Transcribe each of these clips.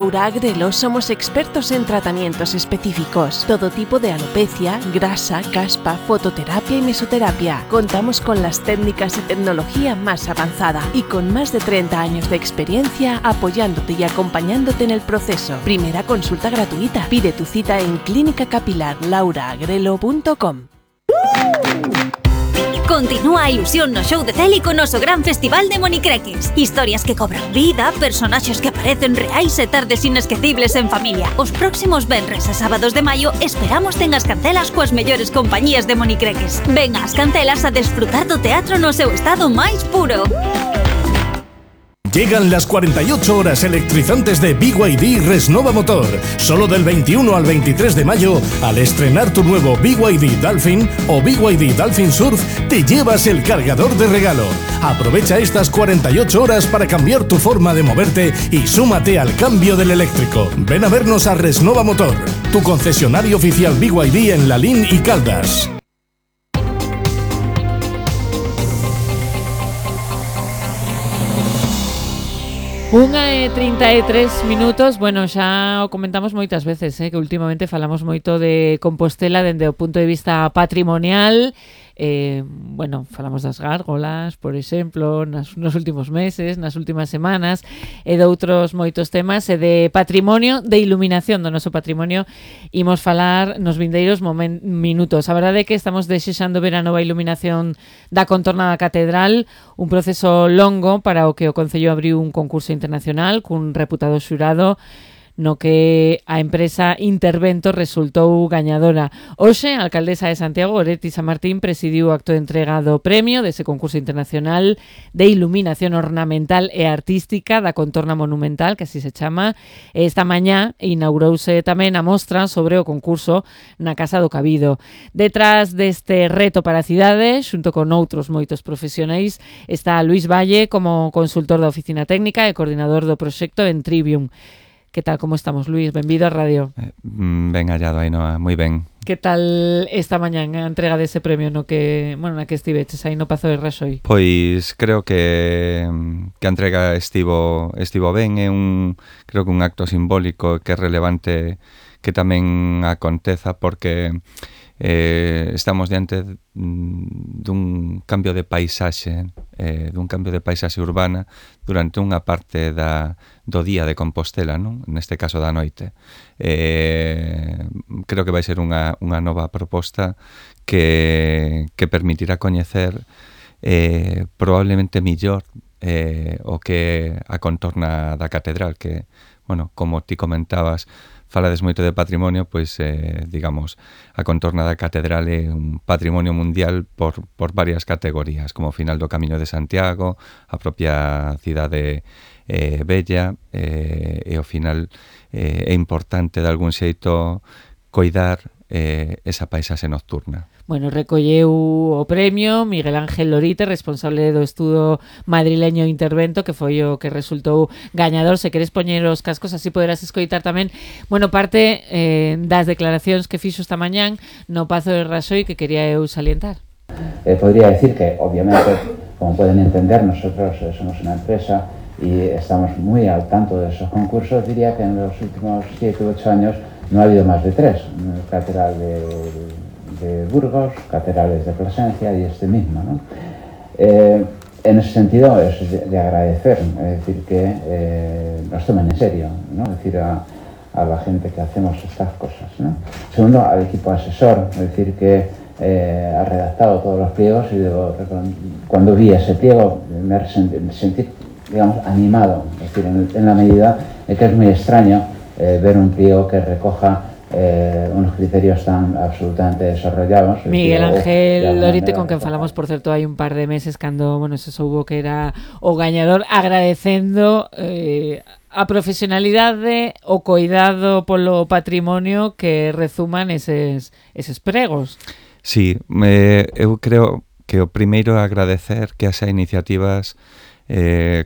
Laura Agrelo somos expertos en tratamientos específicos, todo tipo de alopecia, grasa, caspa, fototerapia y mesoterapia. Contamos con las técnicas y tecnología más avanzada y con más de 30 años de experiencia apoyándote y acompañándote en el proceso. Primera consulta gratuita. Pide tu cita en clínicacapilarlauraagrelo.com. Continúa a ilusión no show de Celi con noso gran festival de monicreques. Historias que cobran vida, personaxes que aparecen reais e tardes inesquecibles en familia. Os próximos venres e sábados de maio esperamos ten as cancelas coas mellores compañías de monicreques. Ven ás cancelas a desfrutar do teatro no seu estado máis puro. Llegan las 48 horas electrizantes de BYD Resnova Motor. Solo del 21 al 23 de mayo, al estrenar tu nuevo BYD Dolphin o BYD Dolphin Surf, te llevas el cargador de regalo. Aprovecha estas 48 horas para cambiar tu forma de moverte y súmate al cambio del eléctrico. Ven a vernos a Resnova Motor, tu concesionario oficial BYD en Lalín y Caldas. 1:33. Bueno, xa o comentamos moitas veces, que últimamente falamos moito de Compostela dende o punto de vista patrimonial. Falamos das gárgolas, por exemplo, nos últimos meses, nas últimas semanas, e de outros moitos temas, e de patrimonio, de iluminación do noso patrimonio, imos falar nos vindeiros minutos. A verdade é que estamos desexando ver a nova iluminación da contorna da catedral, un proceso longo para o que o Concello abriu un concurso internacional cun reputado xurado no que a empresa Intervento resultou gañadora. Hoxe, a alcaldesa de Santiago, Goretti San Martín, presidiu o acto de entrega do premio dese concurso internacional de iluminación ornamental e artística da contorna monumental, que así se chama. Esta mañá inaugurouse tamén a mostra sobre o concurso na Casa do Cabido. Detrás deste reto para a cidade, xunto con outros moitos profesionais, está Luís Valle como consultor da oficina técnica e coordinador do proxecto en Trivium. Que tal, como estamos, Luís? Benvido á radio. Ben hallado, Ainhoa, moi ben. Que tal esta mañán a entrega dese premio na que estiveches aí no Pazo de Raxoi? Pois creo que a entrega estivo ben, creo que un acto simbólico que é relevante que tamén aconteza porque estamos diante dun cambio de paisaxe urbana durante unha parte do día de Compostela, non? Neste caso da noite. Creo que vai ser unha nova proposta que permitirá coñecer probablemente millor o que a contorna da catedral, que, como ti comentabas, falades moito de patrimonio, pois, digamos, a contorna da catedral é un patrimonio mundial por varias categorías, como o final do Camiño de Santiago, a propia cidade bella, e ao final é importante, de algún xeito, coidar esa paisaxe nocturna. Recolleu o premio Miguel Ángel Lorite, responsable do estudo madrileño Intervento, que foi o que resultou gañador. Se queres poñer os cascos, así poderás escoitar tamén parte das declaracións que fixo esta mañán no Pazo de Raxoi, que quería eu salientar. Podría decir que, obviamente, como pueden entender, nosotros somos una empresa y estamos muy al tanto de esos concursos. Diría que en los últimos 7 u 8 años no ha habido más de 3, catedral de Burgos, catedrales de Plasencia y este mismo, ¿no? En ese sentido es de agradecer, es decir, que nos tomen en serio, ¿no? Es decir, a la gente que hacemos estas cosas, ¿no? Segundo, al equipo asesor, es decir, que ha redactado todos los pliegos, y cuando vi ese pliego me sentí, digamos, animado, es decir, en la medida de que es muy extraño ver un pliego que recoja unos criterios tan absolutamente desarrollados. Miguel Ángel Lorite, con quen falamos, por certo, hai un par de meses cando, se soubo que era o gañador, agradecendo a profesionalidade, o coidado polo patrimonio que rezuman eses pregos. Sí, eu creo que o primeiro é agradecer que haxa iniciativas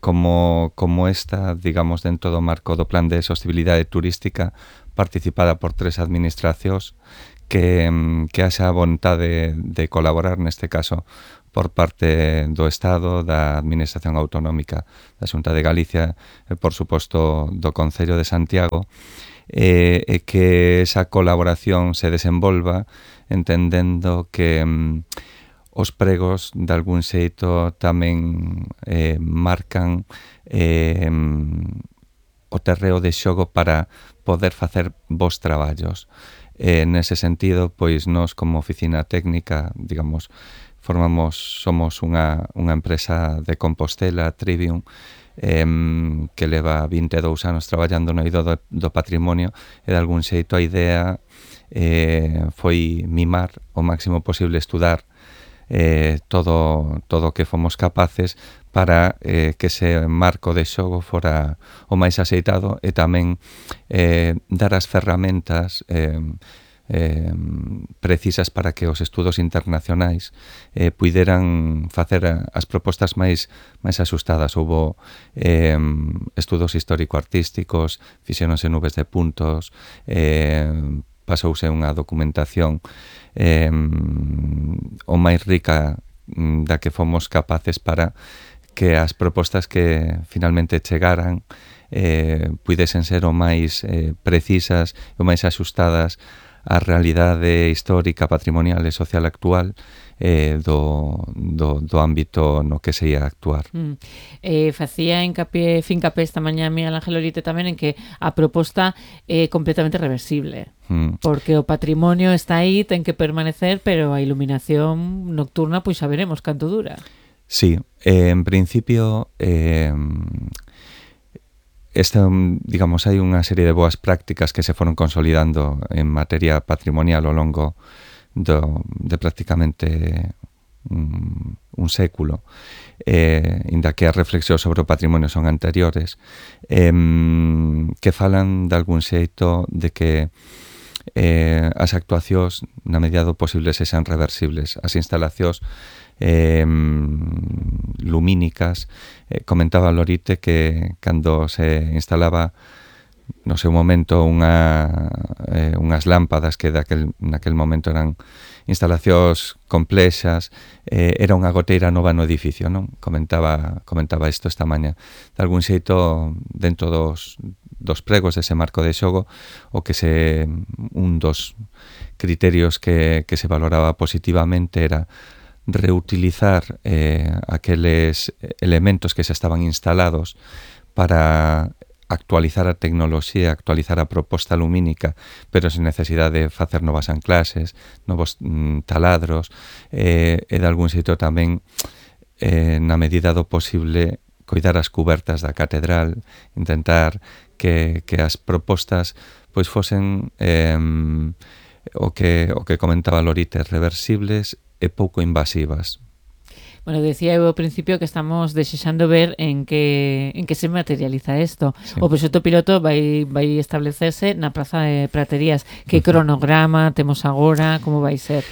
como esta, digamos, dentro do marco do Plan de Sostibilidade Turística, participada por 3 administracións, que haxa vontade de colaborar, neste caso, por parte do Estado, da Administración Autonómica da Xunta de Galicia e, por suposto, do Concello de Santiago, e que esa colaboración se desenvolva entendendo que os pregos, de algún xeito, tamén marcan o terreo de xogo para poder facer bons traballos. Nese sentido, pois, nós como oficina técnica, digamos, somos unha empresa de Compostela, Trivium, que leva 22 anos traballando no eido do patrimonio, e de algún xeito a idea foi mimar o máximo posible, estudar todo o que fomos capaces para que ese marco de xogo fora o máis axeitado, e tamén dar as ferramentas precisas para que os estudos internacionais puideran facer as propostas máis axustadas. Houbo estudos histórico-artísticos, fixéronse nubes de puntos, pasouse unha documentación o máis rica da que fomos capaces para que as propostas que finalmente chegaran puidesen ser o máis precisas e o máis axustadas a realidade histórica, patrimonial e social actual do ámbito no que se ia actuar. Facía fincapé esta mañá Miguel Ángel Orite tamén en que a proposta é completamente reversible, porque o patrimonio está aí, ten que permanecer, pero a iluminación nocturna pois xa veremos canto dura. Sí, en principio digamos, hai unha serie de boas prácticas que se foron consolidando en materia patrimonial ao longo de prácticamente un século, inda que as reflexións sobre o patrimonio son anteriores, que falan de algún xeito de que as actuacións, na medida do posible, sexan reversibles. As instalacións lumínicas, comentaba Lorite que cando se instalaba no seu momento unhas lámpadas que naquel momento eran instalacións complexas, era unha goteira nova no edificio, non? Comentaba isto esta mañá. De algún xeito, dentro dos pregos dese marco de xogo, un dos criterios que se valoraba positivamente era reutilizar aqueles elementos que xa estaban instalados para actualizar a tecnoloxía, actualizar a proposta lumínica, pero sen necesidade de facer novas anclaxes, novos taladros, e de algún xeito tamén, na medida do posible, coidar as cubertas da catedral, intentar que as propostas pois fosen o que comentaba Lorite, reversibles e pouco invasivas. Bueno, decía eu ao principio que estamos desexando ver en que se materializa isto. Sí. O proxecto piloto vai establecerse na Praza de Praterías. Que cronograma temos agora? Como vai ser?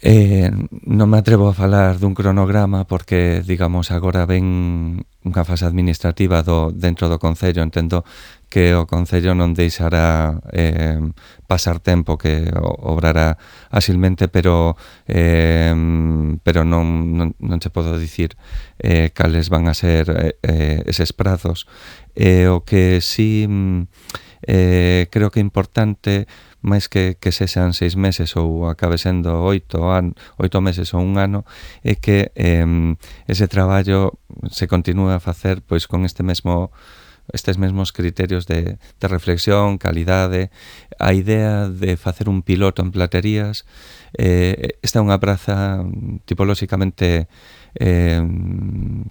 Non me atrevo a falar dun cronograma porque, digamos, agora ven unha fase administrativa dentro do Concello. Entendo que o Concello non deixará pasar tempo, que obrará asilmente, pero non se podo dicir cales van a ser eses prazos. O que sí creo que é importante, máis que sexan 6 meses ou acabe sendo 8 meses ou un ano, é que ese traballo se continúe a facer pois con estes mesmos criterios de reflexión, calidade. A idea de facer un piloto en Platerías, esta é unha praza tipolóxicamente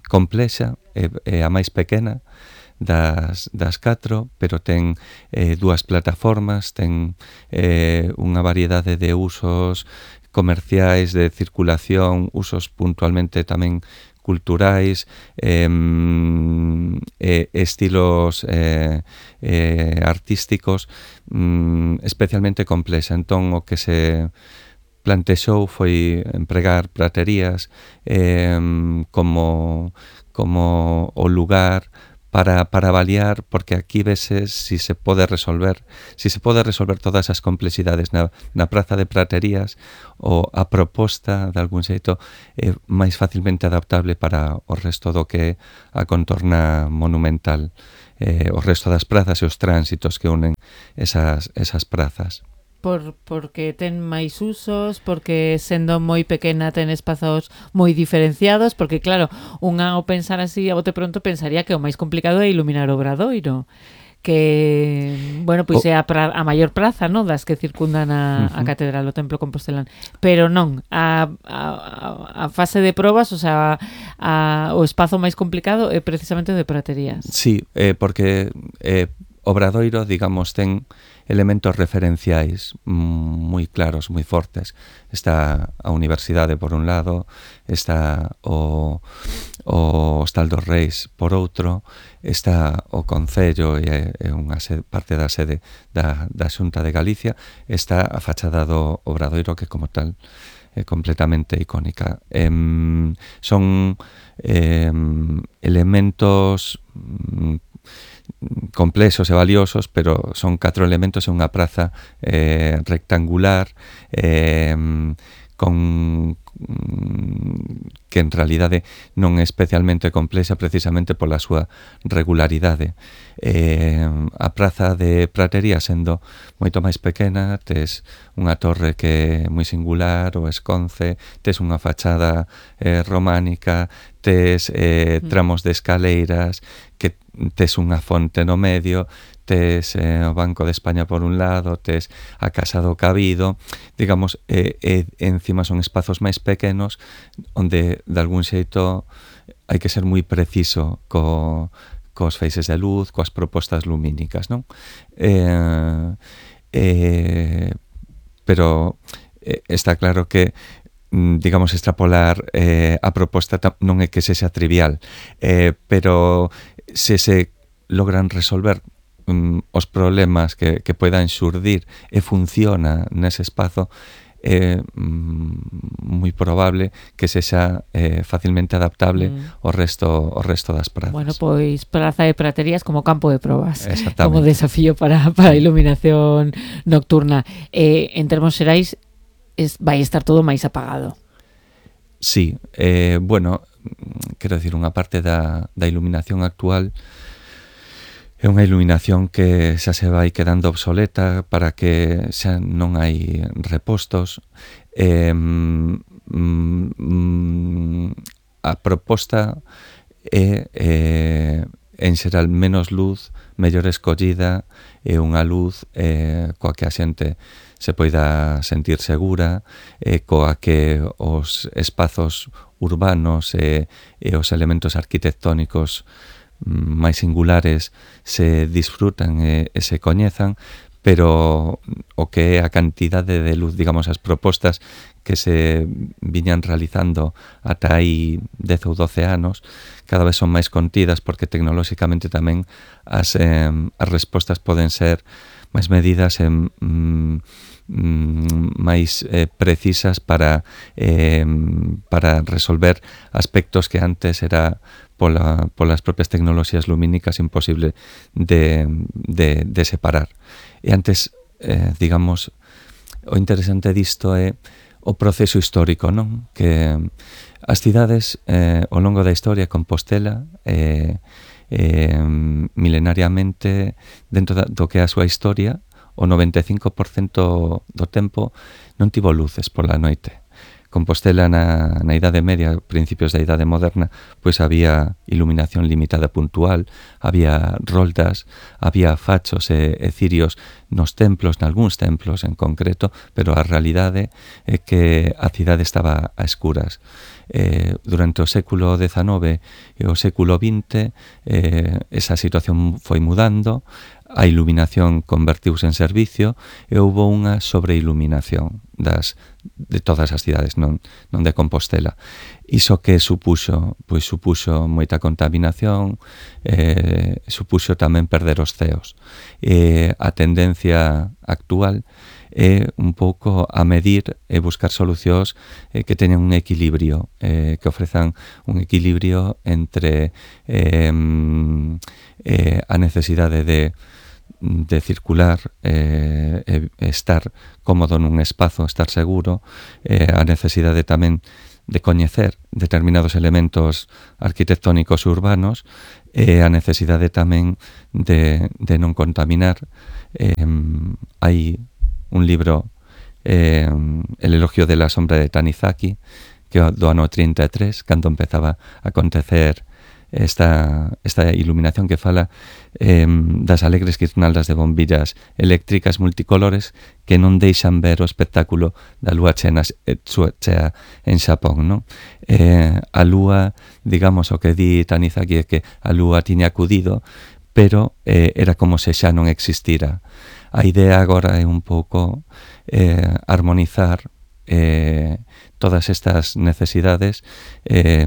complexa, é a máis pequena das 4, pero ten 2 plataformas, ten unha variedade de usos comerciais, de circulación, usos puntualmente tamén culturais, estilos artísticos, especialmente complexa. Entón, o que se plantexou foi empregar Praterías como o lugar para avaliar, porque aquí veses si se pode resolver todas as complexidades na Praza de Praterías, ou a proposta de algún xeito é máis facilmente adaptable para o resto do que a contorna monumental, o resto das prazas e os tránsitos que unen esas prazas. Porque ten máis usos, porque sendo moi pequena ten espazos moi diferenciados, porque claro, unha ao pensar así a bote pronto pensaría que o máis complicado é iluminar o Obradoiro, que, bueno, pois é a maior praza, no, das que circundan a catedral, o templo compostelán, pero non, a fase de probas, o sea, o espazo máis complicado é precisamente o de Praterías. Sí, porque Obradoiro, digamos, ten elementos referenciais moi claros, moi fortes. Está a Universidade por un lado, está o Hostal dos Reis por outro, está o Concello e unha parte da sede da Xunta de Galicia, está a fachada do Obradoiro, que como tal é completamente icónica. Son elementos complexos e valiosos, pero son 4 elementos en unha praza rectangular, con que en realidade non é especialmente complexa precisamente pola súa regularidade. A praza de Pratería, sendo moito máis pequena, tes unha torre que é moi singular, o Esconce, tes unha fachada románica, tes tramos de escaleiras, que tes unha fonte no medio, tes o Banco de España por un lado, tes a Casa do Cabido, digamos, encima son espazos máis pequenos onde de algún xeito hai que ser moi preciso cos feixes de luz, coas propostas lumínicas, non? Pero está claro que digamos, extrapolar a proposta non é que sexa trivial, pero se logran resolver os problemas que poidan xurdir e funciona nese espazo, é moi probable que sexa facilmente adaptable ao resto das prazas. Bueno, pois Praza de Praterías como campo de probas, como Exactamente. desafío para a iluminación nocturna. En termos xerais, vai estar todo máis apagado. Sí, bueno, quero dicir, unha parte da iluminación actual é unha iluminación que xa se vai quedando obsoleta para que xa non hai repostos. A proposta é en xeral menos luz, mellor escollida, e unha luz coa que a xente se poida sentir segura, coa que os espazos urbanos e os elementos arquitectónicos máis singulares se disfrutan e se coñezan, pero o que é a cantidade de luz, digamos, as propostas que se viñan realizando ata aí 10 ou 12 anos, cada vez son máis contidas, porque tecnolóxicamente tamén as respostas poden ser máis medidas e máis precisas para resolver aspectos que antes era polas propias tecnoloxías lumínicas imposible de separar. E antes, digamos, o interesante disto é o proceso histórico, non? Que as cidades ao longo da historia, Compostela, milenariamente, dentro do que é a súa historia, o 95% do tempo non tivo luces pola noite. Compostela na Idade Media, principios da Idade Moderna, pois había iluminación limitada puntual, había roldas, había fachos e cirios nos templos, nalgúns templos en concreto, pero a realidade é que a cidade estaba a escuras. Durante o século XIX e o século XX esa situación foi mudando, a iluminación convertiuse en servicio e houbo unha sobreiluminación de todas as cidades, non de Compostela. Iso que supuxo? Pois supuxo moita contaminación, supuxo tamén perder os ceos. A tendencia actual é un pouco a medir e buscar solucións que teñan un equilibrio, que ofrezan un equilibrio entre a necesidade de circular, estar cómodo nun espazo, estar seguro, a necesidade tamén de coñecer determinados elementos arquitectónicos urbanos, a necesidade tamén de non contaminar. Hai un libro, El elogio de la sombra de Tanizaki, que do ano 33, cando empezaba a acontecer esta iluminación, que fala das alegres guirnaldas de bombillas eléctricas multicolores que non deixan ver o espectáculo da lúa chea en Xapón, non? A lúa, digamos, o que di Tanizaki é que a lúa tiña acudido, pero era como se xa non existira. A idea agora é un pouco armonizar todas estas necesidades e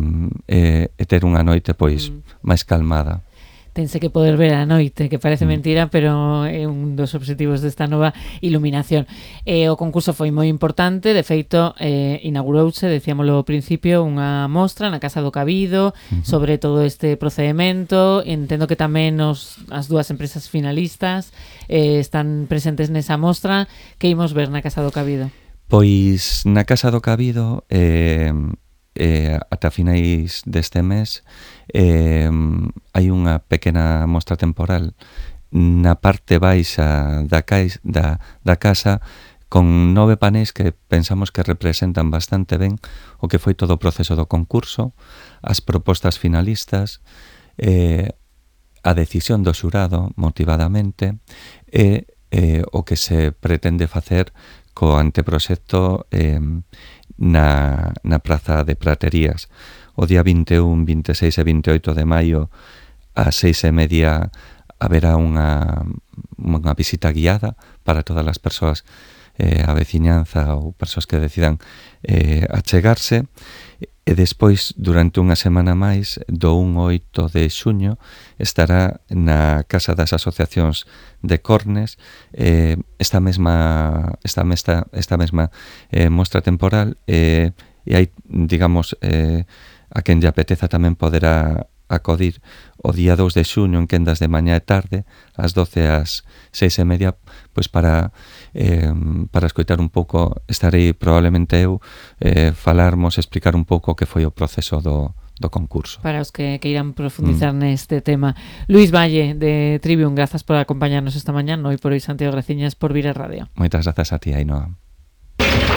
ter unha noite pois máis calmada. Tense que poder ver a noite, que parece mentira, pero é un dos obxectivos desta nova iluminación. O concurso foi moi importante, de feito, inaugurouse, decíamolo ao principio, unha mostra na Casa do Cabido sobre todo este procedimento. Entendo que tamén as dúas empresas finalistas están presentes nesa mostra. Que imos ver na Casa do Cabido? Pois na Casa do Cabido ata finais deste mes hai unha pequena mostra temporal na parte baixa da casa con 9 paneis que pensamos que representan bastante ben o que foi todo o proceso do concurso, as propostas finalistas, a decisión do xurado motivadamente e o que se pretende facer co anteproxecto na Praza de Praterías. O día 21, 26 e 28 de maio ás 6:30 haberá unha visita guiada para todas as persoas, a veciñanza ou persoas que decidan achegarse, e despois, durante unha semana máis, do 1 ao 8 de xuño, estará na Casa das Asociacións de Cornes esta mesma mostra temporal, e hai, digamos, a quen lle apeteza tamén poderá acudir o día 2 de xuño en quendas de mañá e tarde, ás 12 ás 6:30, pois para escoitar un pouco. Estarei probablemente eu explicar un pouco o que foi o proceso do concurso. Para os que queiran profundizar neste tema. Luís Valle, de Trivium, grazas por acompañarnos esta mañá. Hoy por hoy, Santiago, graciñas por vir a radio. Moitas grazas a ti, Ainhoa.